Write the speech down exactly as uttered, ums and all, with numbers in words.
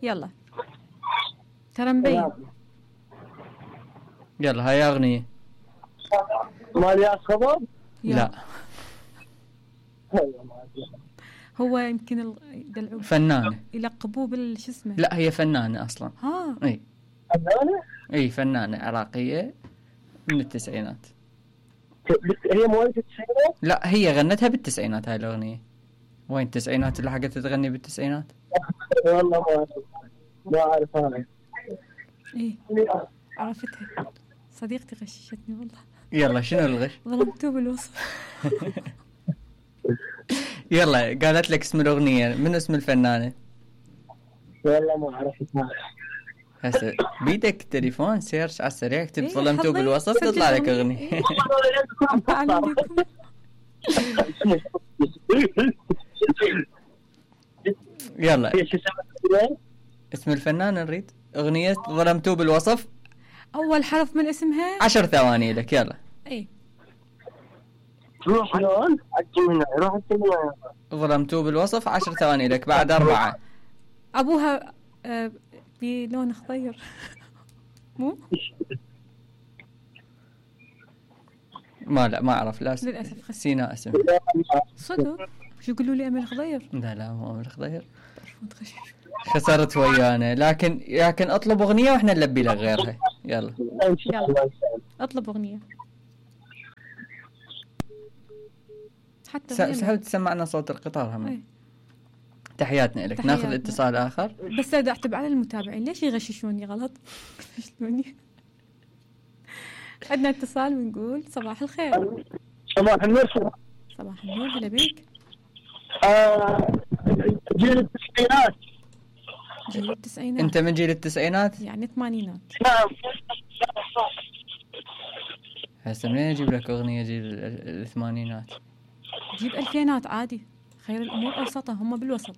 يلا ترى مبين. يلا هاي اغنية. مال يا خبر؟ لا هو يمكن ال... فنانة يلقبوه بالش اسمه. لا هي فنانة اصلا. ها اي فنانة؟ اي فنانة عراقية من التسعينات. هي مواليد التسعينات؟ لا هي غنتها بالتسعينات هاي الاغنية. وين التسعينات اللي حقت تغني بالتسعينات؟ والله ما ما اعرف انا. ايه عرفتها صديقتي غششتني والله. يلا شنو الغش؟ ظلمتوه بالوصف. يلا قالت لك اسم الاغنية، من اسم الفنانة؟ والله ما اعرف اسمها. هسه بيدك تليفون سيرش على السريع اكتب إيه ظلمتوه بالوصف تطلع لك اغنية. يلا اسم الفنانة نريد. اغنية ظلمتوه بالوصف. اول حرف من اسمها. عشر ثواني لك يلا. ايه روح شلون؟ عجبنا روح الدنيا. ظلمتوه بالوصف عشر ثواني لك بعد أربعة. ابوها آه بلون خضير. مو ما لا ما اعرف. لا للاسف سيناء اسم صدق. شو يقولوا لي امل خضير؟ لا لا مو امل خضير. خسرت ويانا. لكن لكن اطلب اغنيه واحنا نلبي لك غيرها. يلا يلا اطلب اغنيه حتى سهل تسمعنا صوت القطار هم. ايه. تحياتنا لك. ناخذ اتصال اخر بس لا اعتب على المتابعين ليش يغششوني غلط. يغششوني. عندنا اتصال ونقول صباح الخير. صباح النور. صباح النور هلا بيك. آه جيل التسعينات. جيل التسعينات. انت من جيل التسعينات؟ يعني الثمانينات. نعم. هسه منين اجيب لك اغنيه جيل الثمانينات؟ جيب الفينات عادي. خير الامور اوسطها هم بالوسط.